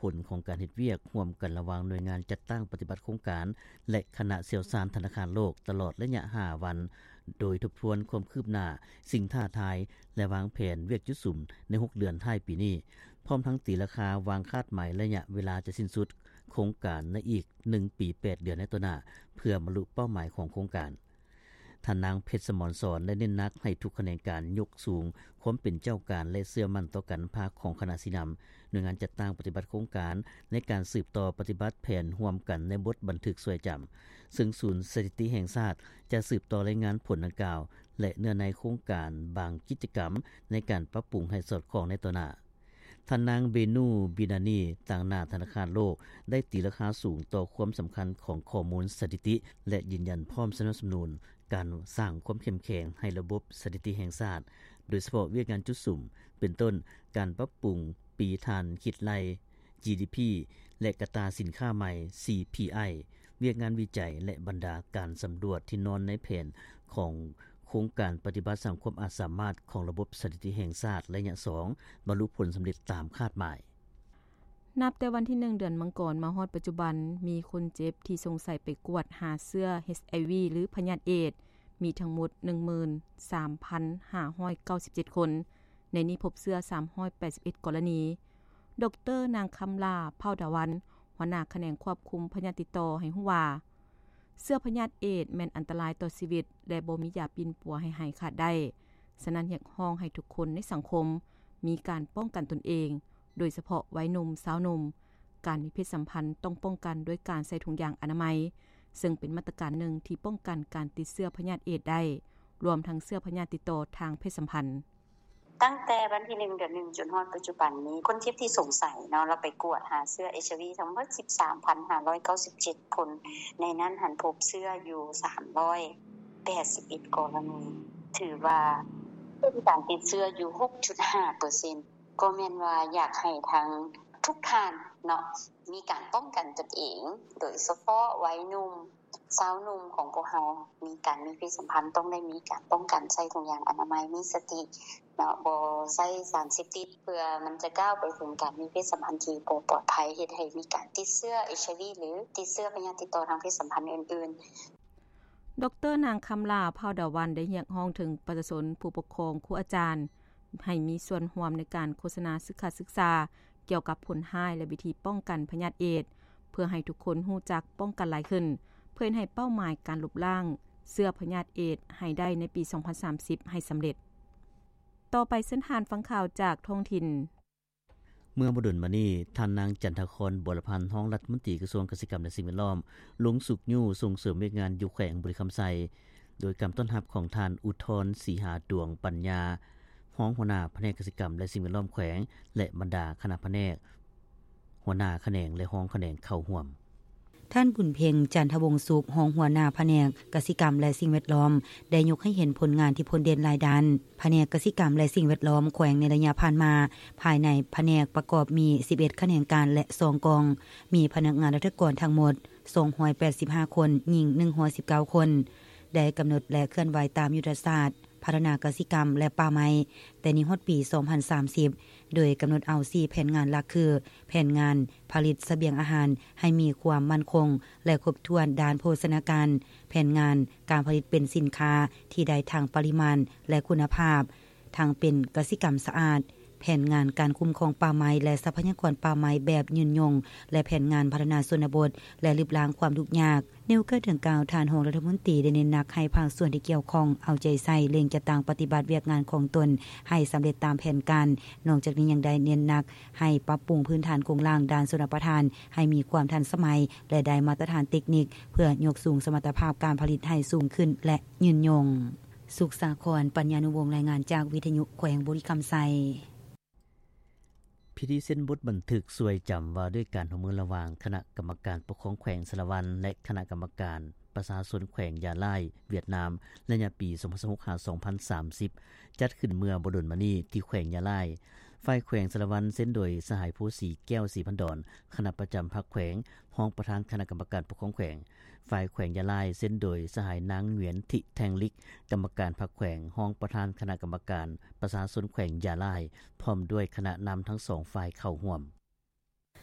ຜົນຂອງການເຮັດວຽກຮ່ວມກັນລະຫວ່າງໜ່ວຍງານຈັດຕັ້ງປະຕິບັດໂຄງການ ແລະ ຄະນະຊ່ຽວຊານທະນາຄານໂລກ ຕະຫຼອດໄລຍະຫ້າວັນ, ໂດຍທົບທວນຄວາມຄືບໜ້າ, ສິ່ງທ້າທາຍ ແລະ ວາງແຜນວຽກຈຸດສຸມໃນຫົກເດືອນທ້າຍປີນີ້, ພ້ອມທັງຕີລາຄາວາງຄາດໝາຍໄລຍະເວລາຈະສິ້ນສຸດໂຄງການໃນອີກໜຶ່ງປີແປດເດືອນໃນຕໍ່ໜ້າ ເພື່ອບັນລຸເປົ້າໝາຍຂອງໂຄງການ. ທ່ານນາງ ເພັດສະໝອນສອນ ໄດ້ເນັ້ນໜັກໃຫ້ທຸກຂະແໜງການຍົກສູງຄວາມເປັນເຈົ້າການ ແລະ ເຊື່ອໝັ້ນຕໍ່ການນຳພາຂອງຄະນະຊີ້ນຳ, ໜ່ວຍງານຈັດຕັ້ງປະຕິບັດໂຄງການ ໃນການສືບຕໍ່ປະຕິບັດແຜນຮ່ວມກັນໃນບົດບັນທຶກຊ່ວຍຈຳ, ເຊິ່ງສູນສະຖິຕິແຫ່ງຊາດຈະສືບຕໍ່ລາຍງານຜົນດັ່ງກ່າວ ແລະ ເນື້ອໃນໂຄງການບາງກິດຈະກຳໃນການປັບປຸງໃຫ້ສອດຄ່ອງໃນຕໍ່ໜ້າ. ທ່ານນາງ ເບນູ ບິນານີ ຕາງໜ້າທະນາຄານໂລກ ໄດ້ຕີລາຄາສູງຕໍ່ຄວາມສຳຄັນຂອງຂໍ້ມູນສະຖິຕິ ແລະ ຢືນຢັນພ້ອມສະໜັບສະໜູນການສ້າງຄວາມເຂັ້ມແຂງໃຫ້ລະບົບສະຖິຕິແຫ່ງຊາດ, ໂດຍສະເພາະວຽກງານຈຸດສຸມ ເປັນຕົ້ນ ການປັບປຸງປີຖານຄິດໄລ່ ຈີດີພີ ແລະ ກະຕາສິນຄ້າໃໝ່ ຊີພີໄອ, ວຽກງານວິໄຈ ແລະ ບັນດາການສຳຫຼວດທີ່ນອນໃນແຜນຂອງໂຄງການປະຕິບັດສ້າງຄວາມອາດສາມາດຂອງລະບົບສະຖິຕິແຫ່ງຊາດໄລຍະສອງ ບັນລຸຜົນສຳເລັດຕາມຄາດໝາຍ. ນັບແຕ່ວັນທີໜຶ່ງ ເດືອນມັງກອນ ມາຮອດປັດຈຸບັນ, ມີຄົນເຈັບທີ່ສົງໄສໄປກວດຫາເຊື້ອ ເອັດໄອວີ ຫຼື ພະຍາດເອດ ມີທັງໝົດ ໜຶ່ງໝື່ນສາມພັນຫ້າຮ້ອຍເກົ້າສິບເຈັດຄົນ, ໃນນີ້ພົບເຊື້ອ ສາມຮ້ອຍແປດສິບເອັດ ກໍລະນີ. ດອກເຕີ ນາງ ຄຳຫຼ້າ ເຜົ່າດາວັນ ຫົວໜ້າຂະແໜງຄວບຄຸມພະຍາດຕິດຕໍ່ ໃຫ້ຮູ້ວ່າ ເຊື້ອພະຍາດເອດແມ່ນອັນຕະລາຍຕໍ່ຊີວິດ ແລະ ບໍ່ມີຢາປິ່ນປົວໃຫ້ຫາຍຂາດໄດ້. ສະນັ້ນ, ຮຽກຮ້ອງໃຫ້ທຸກຄົນໃນສັງຄົມມີການປ້ອງກັນຕົນເອງ, ໂດຍສະເພາະໄວໜຸ່ມ, ຊາວໜຸ່ມ. ການມີເພດສຳພັນຕ້ອງປ້ອງກັນດ້ວຍການໃສ່ຖົງຢາງອະນາໄມ, ເຊິ່ງເປັນມາດຕະການໜຶ່ງທີ່ປ້ອງກັນການຕິດເຊື້ອພະຍາດເອດໄດ້, ລວມທັງເຊື້ອພະຍາດຕິດຕໍ່ທາງເພດສຳພັນ. ຕັ້ງແຕ່ວັນທີໜຶ່ງ ເດືອນໜຶ່ງ ຈົນຮອດປັດຈຸບັນນີ້, ຄົນເຈັບທີ່ສົງໄສເນາະ, ລາວໄປກວດຫາເຊື້ອ ເອັດໄອວີ ທັງໝົດ ສິບສາມພັນຫ້າຮ້ອຍເກົ້າສິບເຈັດຄົນ, ໃນນັ້ນຫັ້ນພົບເຊື້ອຢູ່ ສາມຮ້ອຍແປດສິບເອັດ ກໍລະນີ, ຖືວ່າເປັນການຕິດເຊື້ອຢູ່ ຫົກຈຸດຫ້າເປີເຊັນ. ກໍແມ່ນວ່າຢາກໃຫ້ທາງທຸກທ່ານເນາະ ມີການປ້ອງກັນຕົນເອງ, ໂດຍສະເພາະໄວໜຸ່ມ, ຊາວໜຸ່ມຂອງພວກເຮົາ ມີການມີເພດສຳພັນ ຕ້ອງໄດ້ມີການປ້ອງກັນ, ໃສ່ຖົງຢາງອະນາໄມ, ມີສະຕິເນາະ, ບໍ່ໃຊ້ສານເສບຕິດ ເພື່ອມັນຈະກ້າວໄປເຖິງການມີເພດສຳພັນທີ່ບໍ່ປອດໄພ, ເຮັດໃຫ້ມີການຕິດເຊື້ອ ເອັດໄອວີ ຫຼື ຕິດເຊື້ອພະຍາດຕິດຕໍ່ທາງເພດສຳພັນອື່ນໆ. ດອກເຕີ ນາງ ຄຳຫຼ້າ ເຜົ່າດາວັນ ໄດ້ຮຽກຮ້ອງເຖິງປະຊາຊົນ, ຜູ້ປົກຄອງ, ຄູອາຈານ ໃຫ້ມີສ່ວນຮ່ວມໃນການໂຄສະນາສຶກສາສຶກສາ ກ່ຽວກັບຜົນຮ້າຍ ແລະ ວິທີປ້ອງກັນພະຍາດເອດ, ເພື່ອໃຫ້ທຸກຄົນຮູ້ຈັກປ້ອງກັນຫຼາຍຂຶ້ນ, ເພື່ອເຮັດໃຫ້ເປົ້າໝາຍການລົບລ້າງເຊື້ອພະຍາດເອດໃຫ້ໄດ້ໃນປີສອງພັນສາມສິບໃຫ້ສຳເລັດ. ຕໍ່ໄປເຊີນທ່ານຟັງຂ່າວຈາກທ້ອງຖິ່ນ. ເມື່ອບໍ່ດົນມານີ້, ທ່ານນາງ ຈັນທະຄອນ ບົວລະພັນ ຮອງລັດຖະມົນຕີກະຊວງກະສິກຳ ແລະ ສິ່ງແວດລ້ອມ ລົງຊຸກຍູ້ສົ່ງເສີມວຽກງານຢູ່ແຂວງບໍລິຄຳໄຊ ໂດຍການຕ້ອນຮັບຂອງທ່ານ ອຸທອນ ສີຫາດວງປັນຍາ ຮອງຫົວໜ້າພະແນກກະສິກຳ ແລະ ສິ່ງແວດລ້ອມແຂວງ ແລະ ບັນດາຄະນະພະແນກ, ຫົວໜ້າຂະແໜງ ແລະ ຮອງຂະແໜງເຂົ້າຮ່ວມ. ທ່ານ ບຸນເພັງ ຈັນທະວົງສຸກ ຮອງຫົວໜ້າພະແນກກະສິກຳ ແລະ ສິ່ງແວດລ້ອມ ໄດ້ຍົກໃຫ້ເຫັນຜົນງານທີ່ພົ້ນເດັ່ນຫຼາຍດ້ານ. ພະແນກກະສິກຳ ແລະ ສິ່ງແວດລ້ອມແຂວງໃນໄລຍະຜ່ານມາ, ພາຍໃນພະແນກປະກອບມີສິບເອັດຂະແໜງການ ແລະ ສອງກອງ, ມີພະນັກງານລັດຖະກອນທັງໝົດສອງຮ້ອຍແປດສິບຫ້າຄົນ, ຍິງໜຶ່ງຮ້ອຍສິບເກົ້າຄົນ, ໄດ້ກຳນົດ ແລະ ເຄື່ອນໄຫວຕາມຍຸດທະສາດ ພັດທະນາກະສິກຳ ແລະ ປ່າໄມ້ ແຕ່ນີ້ຮອດປີສອງພັນສາມສິບ ໂດຍກຳນົດເອົາສີ່ແຜນງານຫຼັກຄື ແຜນງານຜະລິດສະບຽງອາຫານໃຫ້ມີຄວາມໝັ້ນຄົງ ແລະ ຄົບຖ້ວນດ້ານໂພຊະນາການ, ແຜນງານການຜະລິດເປັນສິນຄ້າທີ່ໄດ້ທັງປະລິມານ ແລະ ຄຸນນະພາບ, ທັງເປັນກະສິກຳສະອາດ, ແຜນງານການຄຸ້ມຄອງປ່າໄມ້ ແລະ ຊັບພະຍາກອນປ່າໄມ້ແບບຍືນຍົງ ແລະ ແຜນງານພັດທະນາຊົນນະບົດ ແລະ ລຶບລ້າງຄວາມທຸກຍາກ. ໃນໂອກາດດັ່ງກ່າວ, ທ່ານຮອງລັດຖະມົນຕີໄດ້ເນັ້ນໜັກໃຫ້ພາກສ່ວນທີ່ກ່ຽວຂ້ອງເອົາໃຈໃສ່ເລັ່ງຈັດຕັ້ງປະຕິບັດວຽກງານຂອງຕົນໃຫ້ສຳເລັດຕາມແຜນການ. ນອກຈາກນີ້ຍັງໄດ້ເນັ້ນໜັກໃຫ້ປັບປຸງພື້ນຖານໂຄງລ່າງດ້ານຊົນລະປະທານໃຫ້ມີຄວາມທັນສະໄໝ ແລະ ໄດ້ມາດຕະຖານເຕັກນິກ ເພື່ອຍົກສູງສະມັດຕະພາບການຜະລິດໃຫ້ສູງຂຶ້ນ ແລະ ຍືນຍົງ. ສຸກສາຄອນ ປັນຍານຸວົງ ລາຍງານຈາກວິທະຍຸແຂວງບໍລິຄຳໄຊ. ພິທີເຊັນບົດບັນທຶກຊ່ວຍຈຳວ່າດ້ວຍການຮ່ວມມືລະຫວ່າງຄະນະກຳມະການປົກຄອງແຂວງສາລະວັນ ແລະ ຄະນະກຳມະການປະຊາຊົນແຂວງຢາລາຍ ຫວຽດນາມ ໄລຍະປີສອງພັນຊາວຫົກ ຫາ ສອງພັນສາມສິບ ຈັດຂຶ້ນເມື່ອບໍ່ດົນມານີ້ທີ່ແຂວງຢາລາຍ. ຝ່າຍແຂວງສາລະວັນເຊັນໂດຍສະຫາຍ ພູສີແກ້ວ ສີພັນດອນ ຄະນະປະຈຳພັກແຂວງ, ຮອງປະທານຄະນະກຳມະການປົກຄອງແຂວງ. ຝ່າຍແຂວງຢາລາຍເຊັນໂດຍສະຫາຍ ນາງ ຫງວຽນ ທິແທງລິກ ກຳມະການພັກແຂວງ, ຮອງປະທານຄະນະກຳມະການປະຊາຊົນແຂວງຢາລາຍ ພ້ອມດ້ວຍຄະນະນຳທັງສອງຝ່າຍເຂົ້າຮ່ວມ.